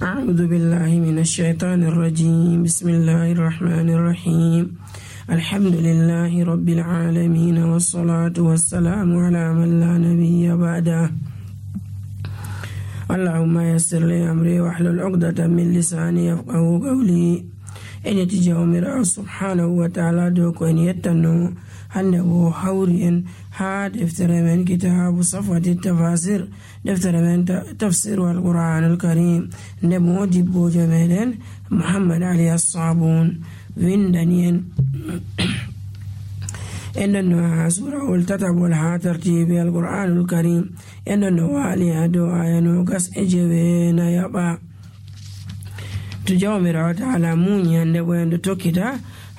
أعوذ بالله من الشيطان الرجيم. بسم الله الرحمن الرحيم. الحمد لله رب العالمين، والصلاة والسلام على من لا نبي بعده. اللهم يسر لي أمري واحلل عقدة من لساني يفقه قولي. إن يتجاومر سبحانه وتعالى دوك أن يتنو أنه حوري ها دفتر من كتاب صفوة التفاسير، دفتر من تفسير القرآن الكريم، نمو جبو جميلين محمد علي الصابون ويندنين إننا سورة التتب والها ترتيب القرآن الكريم، إننا والي دعاء نوكس إجبين يبا تجاومر تعالى موني أندوين توكيتا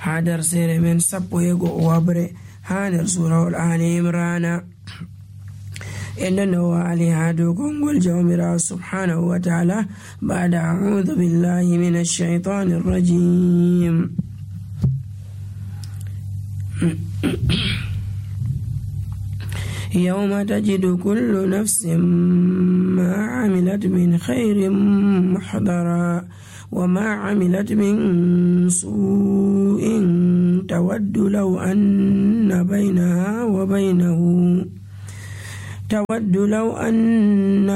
هادر سير من سبو يغو وابري هادر سورة الآن إمرانا. إننا والي هادو كونغول جاومر سبحانه وتعالى بعد أعوذ بالله من الشيطان الرجيم. يوم تجد كل نفس ما عملت من خير محضرا وما عملت من سوء تود لو أن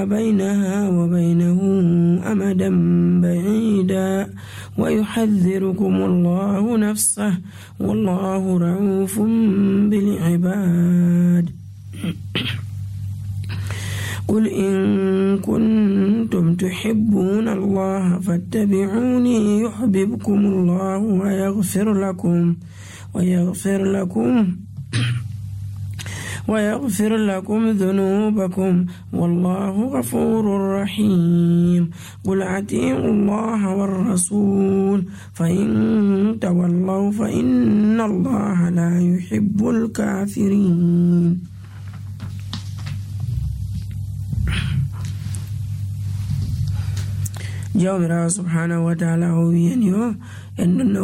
بينها وبينه أمدا بعيدا ويحذركم الله نفسه والله رؤوف بالعباد. قل إن كنتم تحبون الله فاتبعوني يحببكم الله ويغفر لكم ذنوبكم والله غفور رحيم. قل أطيعوا الله والرسول فإن تولوا فإن الله لا يحب الكافرين. جاومر سبحانه وتعالى هو ينيو إننا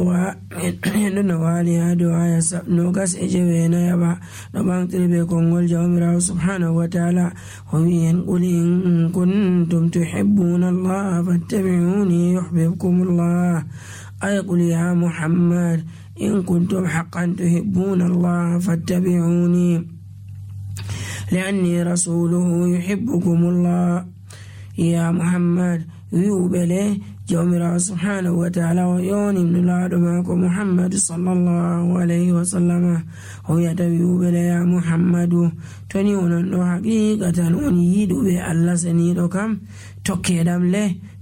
والي هادو آية نوغس إجبينا يبا نبان تربي كونغول. جاومر سبحانه وتعالى هو ينقل إن كنتم تحبون الله فاتبعوني يحببكم الله. أي قل يا محمد إن كنتم حقا تحبون الله فاتبعوني لأني رسوله يحبكم الله. يا محمد يوبله جاومر سبحانه وتعالى ويوني من معكم محمد صلى الله عليه وسلم هو يتبيوبله يا محمد تنيون حقيقة ونيدو بألا سنيدو كم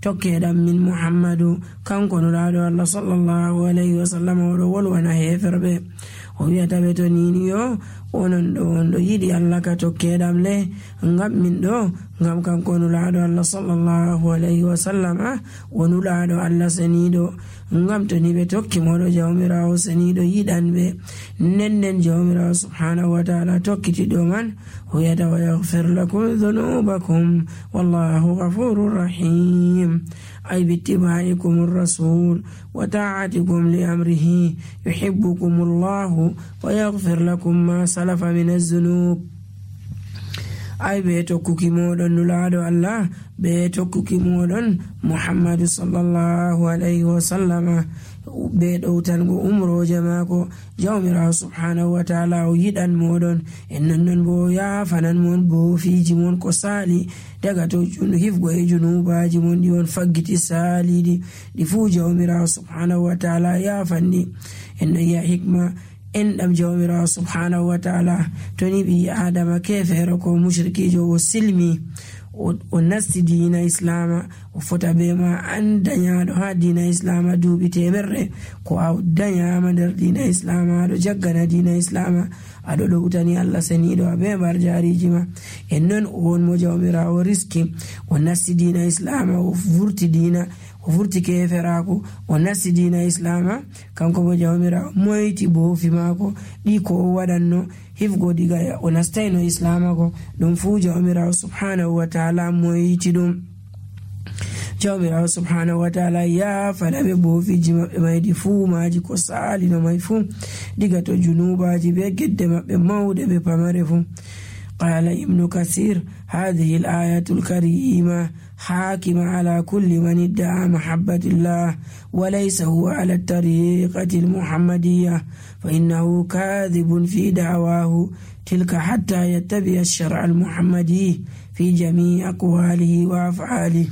tokkedam min muhammadu kanko nulaɗo allah sallallahu alayhi wa sallam oɗo wolwana heferɓe o wiyata ɓe to nini yo onon ɗo on ɗo yiɗi allah ka tokkedam le ngam min ɗo ngam kanko nulaɗo allah sallallahu alayhi wa sallam o nulaɗo allah seniɗo ngam to ni ɓe tokki moɗo jawmirawo seniɗo yiɗan ɓe nden jawmirawo subhanahu wa ta'ala tokkiti ɗo man o wiyata wa yaghfir lakum dhunubakum wallahu ghafurur rahim. أي باتباعكم الرسول وطاعتكم لأمره يحبكم الله ويغفر لكم ما سلف من الذنوب. أي بيتوكوكي مودن نلادو الله بيتوكوكي مودن محمد صلى الله عليه وسلم بيدو تنغو أمرو جماكو جاومرا سبحانه وتعالى ويدان مودن إنن بو يا فنان مون بو في جمون كسالي دغاتو جنو هفغو جنوبا جمون ديون فغتي سالي دي فو جاومرا سبحانه وتعالى يا فني إن يا حكمة إن أم جاومرا سبحانه وتعالى توني بي آدم كيف هركو مشركي جو سلمي ونسي دين إسلام وفتا بما أن دنيا ها دين إسلام دوبي تمر كو أو دنيا مدر دين إسلام أدو جغنا دين إسلام أدو لوتاني الله سنيدو أبي برجاري جما إنن أون مجاومرا ورسكي ونسي دين إسلام وفورتي دين وفورتي كيفراكو ونسي دين إسلام كانكو مجاومرا مويتي بو في ماكو ديكو ودنو hifgo diga o nastayno islamago ɗum fuu jawmirawo subhanahu wa ta'ala moyiti ɗum. jawmirawo subhanahu wa ta'ala yafana ɓe boofiji maɓɓe maydi fuu maji ko salino may fuu diga to junubaji ɓe gedde maɓɓe mawɗe ɓe pamare fuu. قال ابن كثير هذه الآية الكريمة حاكم على كل من ادعى محبة الله وليس هو على الطريقة المحمدية، فإنه كاذب في دعواه تلك حتى يتبع الشرع المحمدي في جميع أقواله وأفعاله.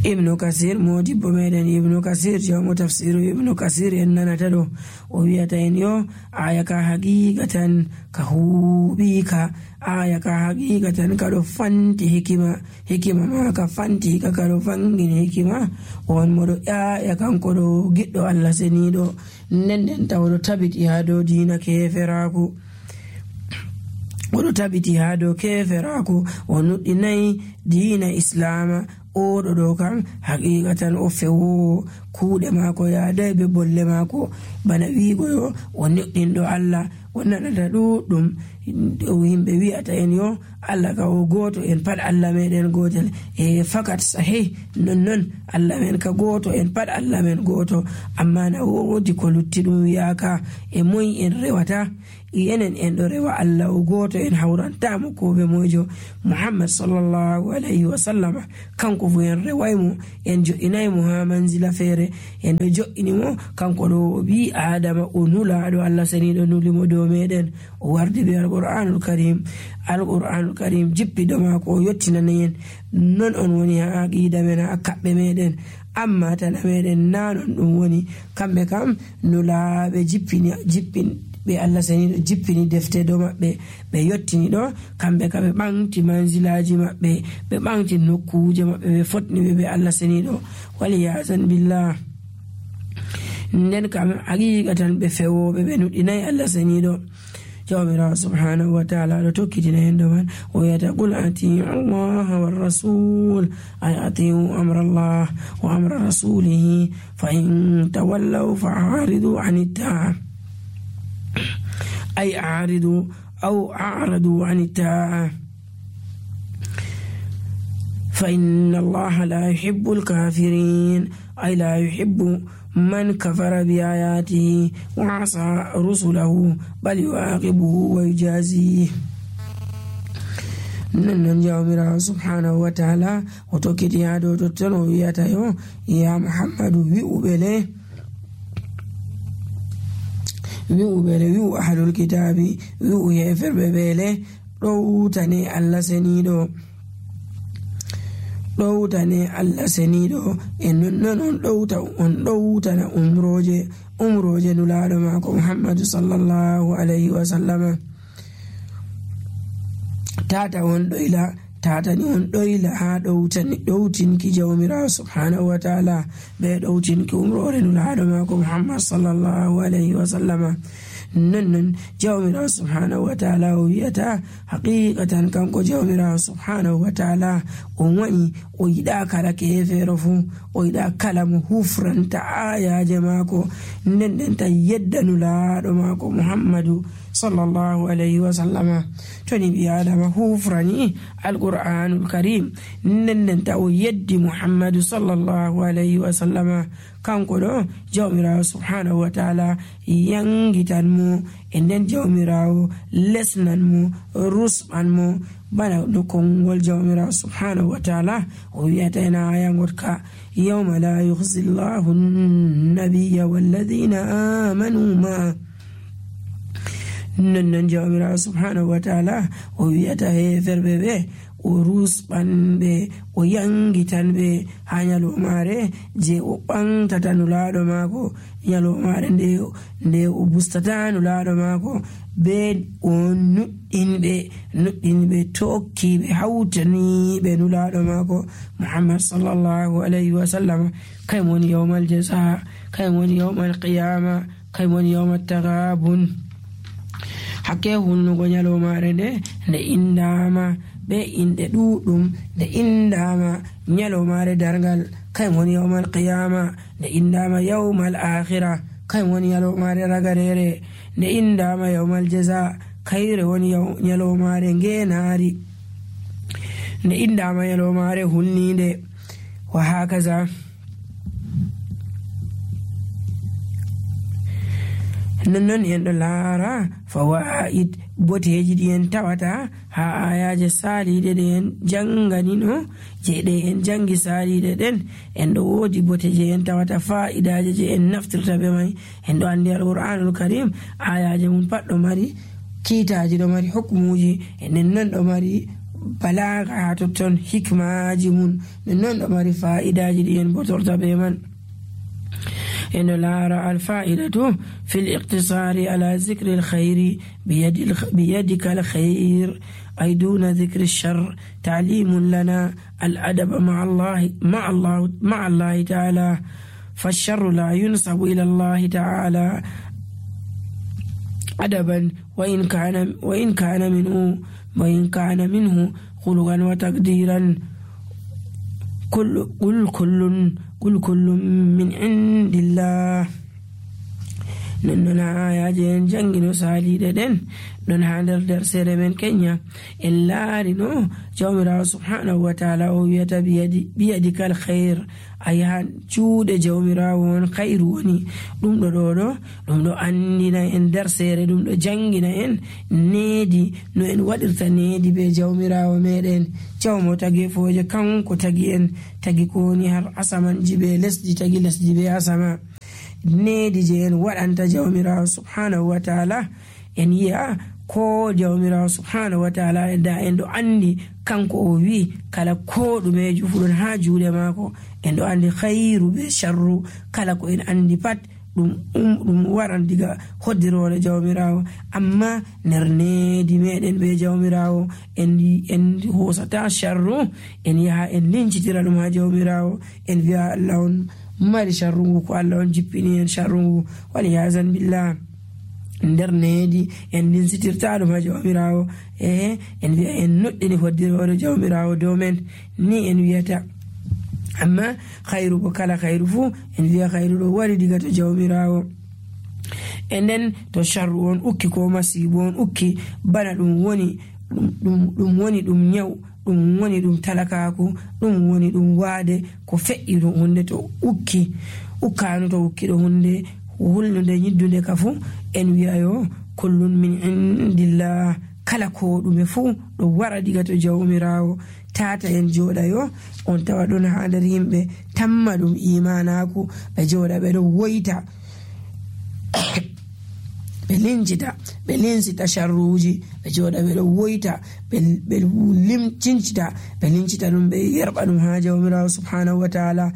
ابن كثير موجب ميدان ابن كثير جاء تفسير ابن كثير إننا تدو وبيتين يو آيك حقيقة كهوبيك آيك حقيقة كدو فانتي حكمة ما كفانتي كدو فانجين حكمة وانمدو آيك انكدو جدو الله سنيدو نندن تودو تبت هادو دين كيفراكو ودو تبت هادو كيفراكو ونطني دين إسلام oɗo ɗo kam haqiqatan o fewo kuuɗe maako yaadai be bolle maako bana wiigoyo o neɗɗinɗo Allah o naɗata ɗuɗɗum yimɓe wi'ata en yo Allah ka o gooto en pat Allah meɗen gootel e fakat sahih nonnon Allah men ka gooto en pat Allah men gooto amma na woodi ko lutti ɗum wiyaka e moy en rewata yenen en ɗo rewa Allah o gooto en hawrantamo ko ɓe mojo Muhammad sallallahu alayhi wa sallama kanko fu en rewaymo en jo'inaymo ha manzila feere en ɗo jo'inimo kanko ɗo o ɓi adama o nulaɗo Allah saniɗo nulimo dow meɗen o wardi be alqur'anul karim jippiɗo mako o yottinanayen non on woni ha aqida men ha kaɓɓe meɗen amma tana meɗen nanon ɗum woni kamɓe kam nulaɓe jippin ɓe Allah saniɗo jippini defte do maɓɓe ɓe yottini ɗo kamɓe ka ɓe ɓanti manzilaji maɓɓe ɓe ɓanti nokkuje maɓɓe ɓe fotni ɓe Allah saniɗo waliyazan billah nden kam haqiqatan ɓe fewoɓe ɓe nuɗinayi Allah saniɗo jawmirawo subhanahu wa ta'ala ɗo tokkitina hen ɗo man o wiyata qul atiu allaha warrasul ay atiu amra Allah wa amra rasulihi fa in tawallaw fa a'ridu an ittaa أي أعرضوا أو أعرضوا عن الطاعة فإن الله لا يحب الكافرين أي لا يحب من كفر بآياته وعصى رسله بل يعاقبه ويجازيه. نن جاوميرا سبحانه وتعالى وتوكيتي هادو تتنو وياتايو يا محمد ويؤبله wi'u ahlul kitabi wi'u heferɓe ɓeele ɗowtane Allah seniɗo e nonnon on ɗowtana umroje nulaɗo maako Muhammadu sallallahu alayhi wa sallama tatani on ɗoyla ha ɗowtinki jawmirawo subhanahu wa ta'ala ɓe ɗowtinki umrore nulaɗo maako Muhammad sallallahu alayhi wa sallama nonnon jawmirawo subhanahu wa ta'ala o wiyata haqiqatan kanko jawmirawo subhanahu wa ta'ala on waɗi o yiɗa kala kefeero fu o yiɗa kala mo hufranta ayaje maako nden ta yedda nulaɗo maako Muhammadu sallallahu alayhi wa sallama toni ɓi adama hufrani alqur'anul karim nden ta o yeddi Muhammadu sallallahu alayhi wa sallama kanko ɗo jawmirawo subhanahu wa ta'ala yangitan mo e nden jawmirawo lesnan mo rusɓan mo bana no kongol jawmirawo subhanahu wa ta'ala o wiyata ena ayangotka yawma la yukhzi llahu nabiyya walladhina amanu ma nonnon jawmirawo subhanahu wa ta'ala o wiyata heferɓe ɓe o rusɓanɓe o yangitanɓe ha nyalomare je o ɓantata nulaɗo maako nyalomare nde o bustata nulaɗo maako be o nuɗɗinɓe tokkiɓe hawtaniɓe nulaɗo maako Muhammad sallallahu alayhi wa sallam kay woni yawmal jaza kay woni yawmal qiyama kay woni yawmal taghabun hakke hunnugo nyalomare nde indama be inde ɗuɗɗum nde indama nyalomare dargal kay woni yawmal qiyama nde indama yawmal akhira kay woni nyalomare ragarere nde indama yawmal jaza kayre woni nyalomare ngenari nde indama nyalomare hulnide wa hakaza nonnon en ɗo laara fawaid boteji ɗi en tawata ha ayaje saliɗe ɗe en janganino je ɗe en jangi saliɗe ɗen en ɗo wodi bote je en tawata fa'idaje je en naftirta be mai. En ɗo andi alqur'anul karim ayaje mum pat ɗo mari kiitaji, ɗo mari hukmuji, enen non ɗo mari balaga ha totton, hikmaji mum non ɗo mari fa'idaji ɗi en botorta be man. إن لا الفائدة في الاقتصار على ذكر الخير بيدك الخير أي دون ذكر الشر تعليم لنا الأدب مع الله تعالى، فالشر لا ينسب إلى الله تعالى أدبا وإن كان منه خلقا وتقديرا. قل كل من عند الله. نننا آياجين جنجنو سالي دين نن هاندر درسير من كينيا إلا رنو جومرا سبحانه وتعالى ويتا بيدك الخير أيها جود جومرا وون خير وني دم دو أنينا إن درسير دم دو جنجنا إن نيدي نو إن ودرتا نيدي بي جومرا وميرين جومو تاقي فوجة كانكو تاقي إن تاقي كوني هر أسامان جيبي لسجي تاقي لسجي بي أساما nedi je en waɗanta jawmirawo subhanahu wa ta'ala. En yi'a ko jawmirawo subhanahu wa ta'ala da en ɗo andi kanko o wi kala ko ɗumeji fuɗon ha juuɗe maako. En ɗo andi khairu be sharru, kala ko en andi pat ɗum waran diga hoddirore jawmirawo. Amma nder nedi meɗen be jawmirawo en hosata sharru, en yaha en lincitira ɗum ha jawmirawo, en wi'a Allah on mari sharrungu ko Allah on jippini en sharrungu waliyazan billah. nder nedi en linsitirta ɗum ha jawmirawo en wi'a en noɗɗini hoddirore jawmirawo dow men ni en wiyata. amma khairu bo kala khairu fu en wi'a khairu ɗo wari diga to jawmirawo. e nden to sharru on ukki ko masibo on ukki bana ɗum woni ɗum nyaw, ɗum woni ɗum talakaku, ɗum woni ɗum waade ko fe'i ɗum hunde to ukkanu to ukki ɗo hunde hulnude yiddunde ka fu en wi'a yo kullun min indillah, kala ko ɗume fu ɗo wara diga to jawmirawo. tata en joɗa yo on tawa ɗon ha nder yimɓe tamma ɗum imanaku ɓe joɗa ɓe ɗo woyta ɓe lincita sharruji, ɓe joɗa ɓe ɗo woyta ɓe lincita ɗum ɓe yerɓa ɗum ha jawmirawo subhanahu wa ta'ala.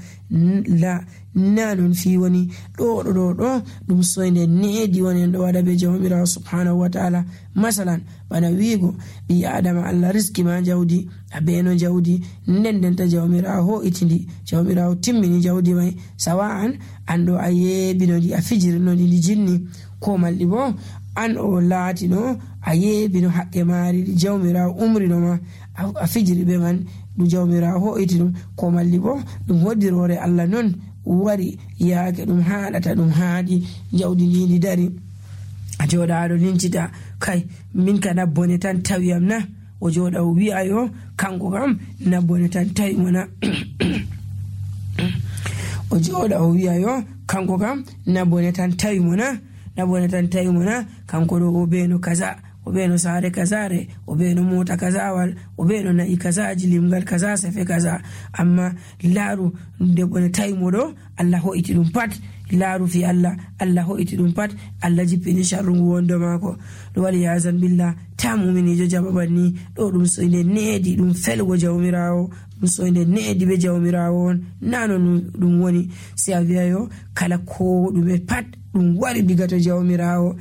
na ɗum fi woni ɗo ɗum soyde needi woni en ɗo waɗa ɓe jawmirawo subhanahu wa ta'ala. masalan bana wiigo ɓi adama Allah riski ma jawdi, a beno jawdi ndendenta jawmirawo ho'itindi, jawmirawo timmini jawdi mai, sawa'an an ɗo a yeɓinodi a fijirinoɗi ndi jinni, ko malɗi bo an o laatino a yeɓino haqqe maari ɗi jawmirawo umrinoma a fijiri ɓe man ɗum jawmirawo ho'iti ɗum, ko malli bo ɗum hoddirore Allah non wari yaake ɗum haɗata ɗum haaɗi jawdi ndi dari. a joɗa aɗo lincita kai min ka nabbone tan tawiyam na, o joɗa o wi'a yo kanko kam nabbone tan tawi mo na o joɗa o wi'a yo kanko kam nabbone tan tawi mo na, kanko ɗo o beno kaza, o beno saare kazare, o beno mota kazawal, o beno na'i kazaji, limgal kaza, sefe kaza. amma laaru debbo ne tawi mo ɗo Allah ho'iti ɗum pat, laaru fi Allah ho'iti ɗum pat, Allah jippini sharru ngu wondo maako. ɗo wali yazan billah ta muminijo jaɓaɓan ni ɗo ɗum soyde needi ɗum felgo jawmirawo, ɗum soyde needi ɓe jawmirawo on, nano ɗum woni si a wi'a yo kala ko ɗume pat ɗum wari diga to jawmirawo.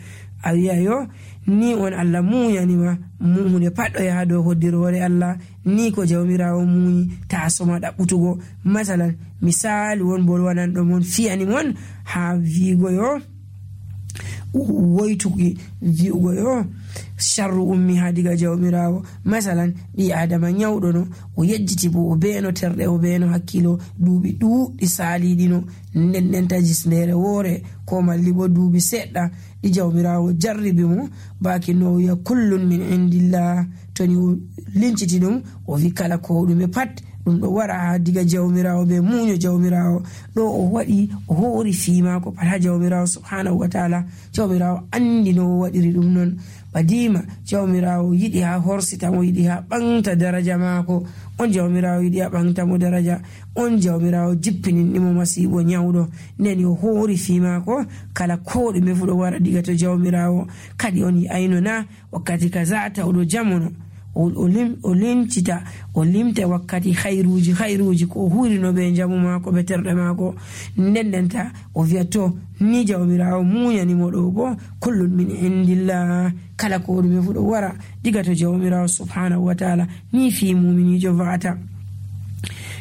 a wi'a yo ni on Allah muyanima hunde pat ɗo yaha dow hoddirore Allah, ni ko jawmirawo muyi ta soma ɗaɓɓutugo. masalan misali won bolwanan ɗo mon fiyani mon ha wiigo yo woytuki wi'ugo yo sharru ummi ha diga jawmirawo. masalan ɓi adama nyawɗo no o yejjiti bo o beno terɗe, o beno hakkilo, duuɓi ɗuɗɗi saliɗino, ndenta jisndere woore ko malli bo duuɓi seɗɗa ɗi jawmirawo jarribi mo baki no wiya kullun min indillah. toni o linciti ɗum o wi kala ko ɗume pat ɗum ɗo wara ha diga jawmirawo be muño jawmirawo. ɗo o waɗi o hori fi mako pat ha jawmirawo subhanahu wa ta'ala. jawmirawo andi no o waɗiri ɗum non. badima jawmirawo yiɗi ha horsitamo, yiɗi ha ɓamta daraja mako. on jawmirawo yiɗi ha ɓamtamo daraja, on jawmirawo jippininɗimo masibo nyawɗo. nden yo hori fi mako kala ko ɗume fu ɗo wara diga to jawmirawo. kadi on yi'ayno na wakkati kaza tawɗo jamono o limta wakkati khairuji ko hurino be jamu mako be terɗe mako. ndendenta o wiya to ni jawmirawo muñanimo ɗo bo kullun min indillah, kala ko ɗume fu ɗo wara diga to jawmirawo subhanahu wa ta'ala. ni fi muminijo va'ata.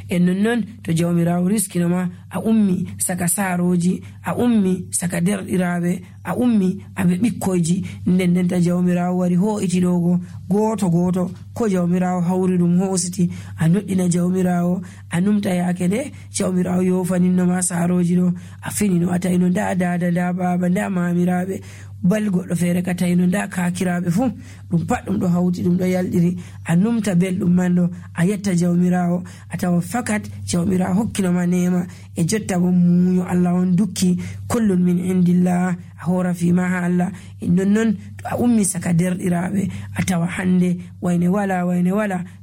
en nonnon to jawmirawo riskinoma a ummi saka saroji, a ummi saka derɗiraɓe, a ummi aɓe ɓikkoyji, ndendenta jawmirawo wari ho'iti ɗogo goto ko jawmirawo hawri ɗum hositi, a noɗɗina jawmirawo, a numta yake nde jawmirawo yofaninoma saroji ɗo, a finino a tawino nda dada nda baba nda mamiraɓe, bal goɗɗo feere ka tawino nda kakiraɓe fu, ɗum pat ɗum ɗo hawti, ɗum ɗo yalɗiri. a numta belɗum man ɗo, a yetta jawmirawo, a tawa fakat jawmirawo hokkinoma nema. e jotta bo muño Allah on dukki, kullun min indillah, a hora fima ha Allah. nonnon to a ummi saka derɗiraɓe, a tawa hande wayne wala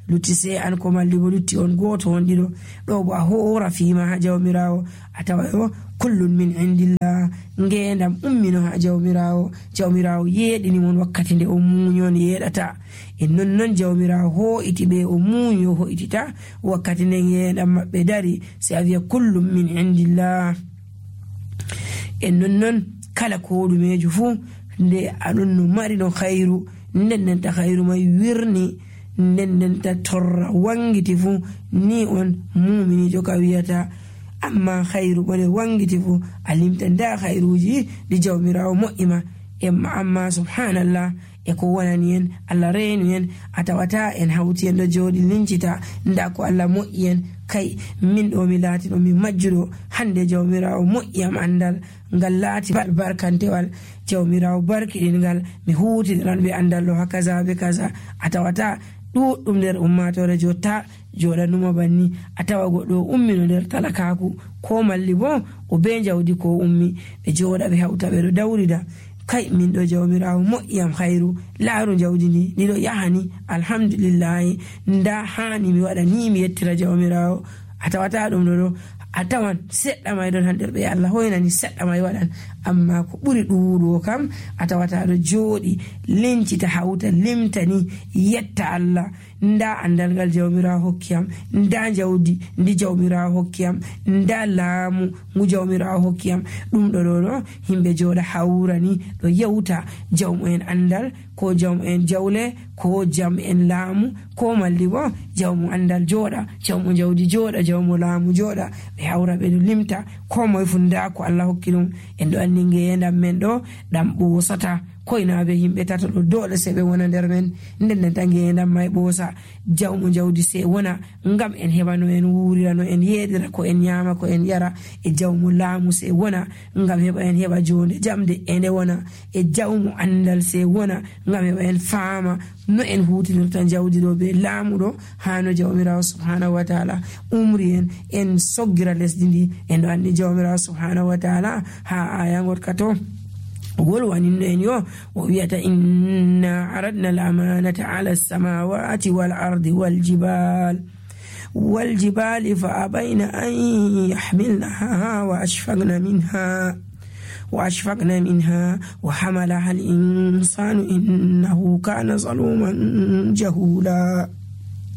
lutti se an ko malli bo lutti on goto on ɗiɗo. ɗo bo a hora fima ha jawmirawo, a tawa yo kullun min indillah, ngendam ummino ha jawmirawo yeɗini mon wakkati nde o muñon yeɗata. nonnon jawmirawo ho'iti ɓe o muñi o ho'itita wakkati nden yeɗam maɓɓe dari, se a wiya kullum min indillah. nonnon kala ko ɗumejo fu nde aɗon no mari no khairu, ndendenta khairu may wirni, ndendenta torra wangiti fu, ni on muminijo ka wiyata. amma khairu bone wangiti fu a limta nda khairuji ɗi jawmirawo moƴƴima. amma subhanallah, e ko wonani en Allah reenu en, a tawata en hawti en ɗo jooɗi lincita nda ko Allah moƴƴi en. kay min ɗo mi laati ɗo mi majjuɗo hande jawmirawo moƴƴiyam andal ngal laati barkantewal. jawmirawo barkiɗingal mi hutiran ɓe andal ɗo ha kaza be kaza. a tawata ɗuɗɗum nder ummatore jotta joɗanuma banni. a tawa goɗɗo ummino nder talakaku, ko malli bo o be jawdi ko ummi, ɓe joɗa ɓe hawta ɓe ɗo dawrida. kay min ɗo jawmirawo moƴƴiyam khairu, laaru jawdi ndi ɗiɗo yahani alhamdulillahi, nda hani mi waɗa ni mi yettira jawmirawo. a tawata ɗum ɗo a tawan seɗɗa may ɗon hannder ɓe Allah hoynani seɗɗa may waɗan. amma ko ɓuri ɗuɗo kam a tawata ɗo jooɗi lincita hawta limtani yetta Allah. nda andal ngal jawmirawo hokkiyam, nda jawdi ndi jawmirawo hokkiyam, nda laamu ngu jawmirawo hokkiyam. ɗum ɗo himɓe jooɗa hawrani ɗo yewta jawmu en andal, ko jawmu en jawle, ko jam en laamu, ko malli bo jawmu andal jooɗa, jawmu jawdi jooɗa, jawmu laamu jooɗa, ɓe hawra ɓe ɗo limta ko moye fu nda ko Allah hokki ɗum. en ɗo andi ngeendam men ɗo ɗam ɓosata, koynaɓe yimɓe tato ɗo dole se ɓe wona nder men. ndendenta ngeendam may ɓoosa, jawmu jawdi se wona ngam en heɓa no en wuurira, no en yeɗira, ko en ñaama, ko en yara. e jawmu laamu se wona ngam heɓa en heɓa jonde jamde e nde wona. e jawmu andal se wona ngam heɓa en faama no en hutinirta jawdi ɗo be laamu ɗo hano jawmirawo subhanahu wa ta'ala umri en soggira lesdi ndi. en ɗo andi jawmirawo subhanahu wa ta'ala ha aya gotka to wolwaninno en yo o wiyata inna aradna al-amanata ala as-samawati wal ardi wal jibali fa abayna an yahmilnaha wa ashfaqna minha wa hamalaha al-insanu innahu kana zaluman jahula.